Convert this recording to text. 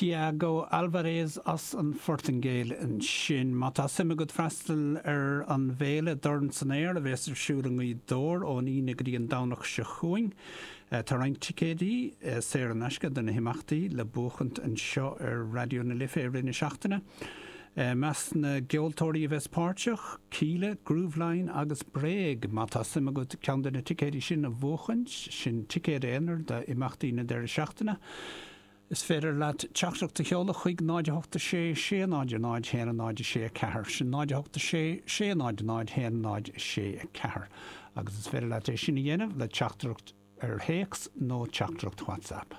Tiago Alvarez as an Phortaingéil ansin. Má tá suim agat freastal ar an bhféile Dorn san Aer a bhéas ar siúl i nGaoth Dobhair ón Aoine go dtí an Domhnach seo chugainn, tá roinnt ticéidí saor in aisce do na himeachtaí le buachaint anseo ar Raidió na Life i rith na seachtaine. I measc na gceoltóirí a bheas páirteach, Kíla, Grooveline agus Bréag. Má tá suim agat ceann de na ticéidí sin a bhuachaint, sin ticéad aonair d'imeachtaí na deireadh seachtaine, is féidir leat teachtaireacht a sheoladh chuig 0 8 6 6 0 0 1 0 6 4. Sin 0 8 6 6 0 0 1 0 6 4. Agus is féidir leat é sin a dhéanamh le teachtaireacht ar théacs nó teachtaireacht WhatsApp.